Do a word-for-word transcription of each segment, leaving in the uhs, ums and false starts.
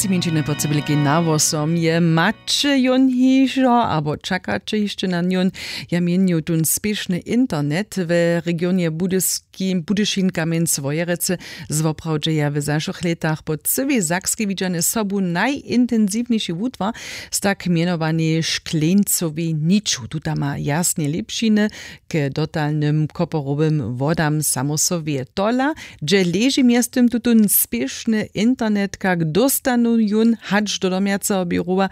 Mjeńšiny po cybelkej na wosom je maće jón hižo abo čakaće hišće na njón? Ja měnju tón spěšny internet we regionje budyšin kamjenc wojerecy zwoprawdźeja w zašłych lětach po cyłej sakskej widźane sobu najintensiwniši wutwar z tak mjenowanej škleńcowej niču. Tuta ma jasnje lěpšiny k dotalnym koporowym wodam samo so wě tola, hdźe leži mjeztym tutón spěšny internet, kak dóstanu jón hač do domjaceho běrowa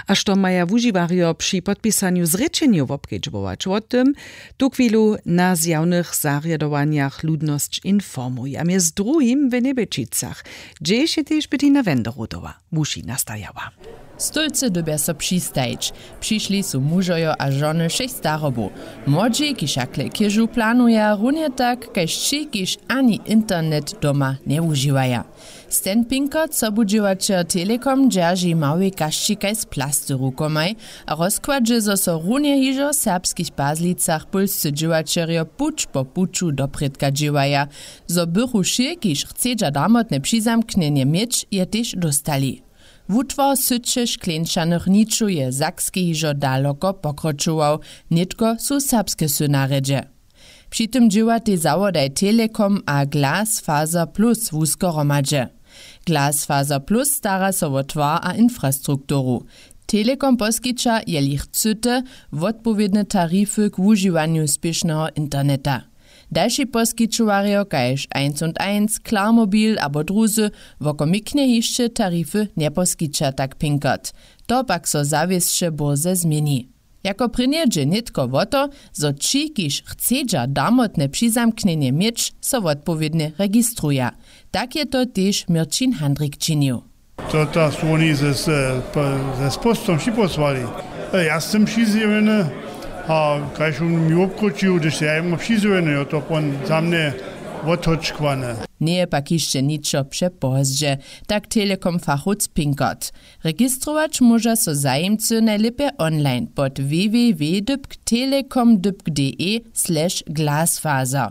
a što maja wužiwarjo při podpisanju zrěčenjow wobkedźbować wo tym tuchwilu na zjawnych zarjadowanjach ludnosć informuj a mjez druhim w njebelčicach, hdźež je tež bytina wenderotowa wuši nastajała. Stólcy dyrbja so přistajić. Přišli su mužojo a žony wšěch starobow. Młodźi kiž hakle chěžu planuja runje tak kaž tři kiž ani internet doma njewužiwaja. Stan pinkert sobudźěłaćer telekom dźerži małej kašćikaj z plasty rukomaj a rozkładźe zo so runje hižo w serbskich pazlicach pólscy dźěłaćerjo puć po puću doprědka dźěłaja. Zo bychu wšě kiž chcedźa damotne přizamknjenje měć je tež dóstali. Wutwar syće škleńčanych ničow je w sakskej hižo daloko pokročował. Nětko su serbske sy na rjedźe. Při tym dźěłatej zawodaj telekom a glasfaser plus wusko hromadźe. Glasfaser plus stara so wo twar a infrastrukturu. Telekom poskića jeli chcyte wotpowědne tarify k wužiwanju spěšneho interneta. Dalši poskićowarjo kaž eins und eins klarmobil abo druzy wokomiknje hišće tarify njeposkića tak pinkert. To pak so zawěsće bórze změni. Jako prěnje dźe nětko wo to, zo ći kiž chcedźa damotne přizamknjenje měć so wotpowědnje registruja. Tak je to tež měrćin handrik činił. To ta su woni ze z postom připósłali. Ja sym přizjewjeny a kaž wón mi wobkročił hdyž ja jemu přizjewjeny jo to pon za mnje wothočkłane. Njeje pak hišće ničo přepozdźe, tak telekom fachowc pinkert. Registrować móža so zajimcy najlěpje online pod www dypk telekom dypk de slash glasfaser.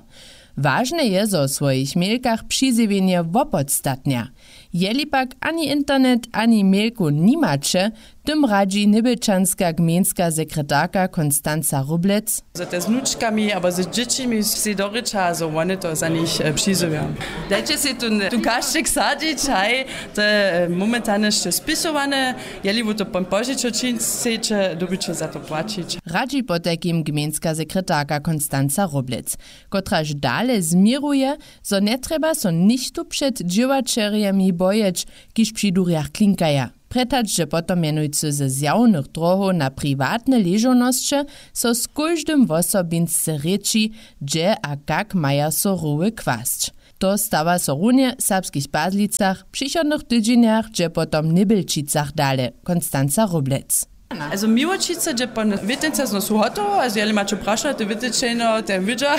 Wažne je zo w swojich mělkach přizjewjenje wopodstatnja. Jeli pak ani internet ani mělku nimaće, tym radźi njebelčanska gmejnska sekretarka konstanca róblec. Zo te z wnučkami abo z dźěćimi sej dorěča zo wone to za nich přizjewja. Dajće sej tu kašćik sadźić haj. To je momentalnje sće spisowane. Jeli wu to pon požičo čińć sejće dyrbiće za to płaćić. Radźi potajkim gmejnska sekretarka konstanca róblec, kotraž dale změruje, zo njetrjeba so něchtó před dźěłaćerjemi bojeć, kiž při durjach klinkaja. Prjetačdźe potom mjenujcy ze zjawnych drohow na priwatne ležownosće so z kóždym wosobinsce rěči, hdźe a kak maja so roły kwasć. To stawa so runje w serbskich pazlicach w přichodnych tydźenjach dźe potom w njebelčicach dale konstanca róblec. Azo miłočica dźe pon wětnica znosu hotowo azo jeli maće prašo te wětničenjo ten wědźa,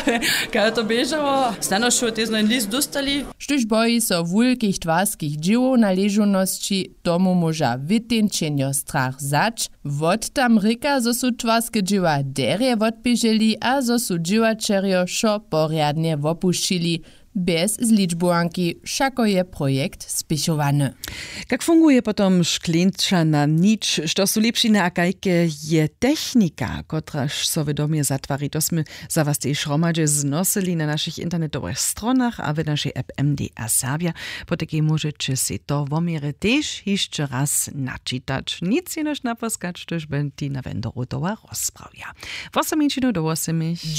kaž to běžało. Snano šo tezno jen list dóstali. Štóž boji so wulkich twarskich dźěłow na ležownosći, tomu móža wětničenjo strach wzać. Wot tam rěka zo su twarske dźěła derje wotběželi a zo su dźěłaćerjo wšo porjadnje wopušćili. Bjez zličbowanki wšako je projekt spěchowany. Kak funguje potom škleńčana nić, što su lěpšiny a kajke je technika, kotraž so w domje zatwari? To smy za was tež hromadźe znosyli na našich internetowych stronach a w našej app mda serbja. Potajkej móžeće sej to woměrje tež hišće raz načitać. Nic jenož naposkać, štož bynti na wendoru towa rozprawja. Wosominčinu do wosomich.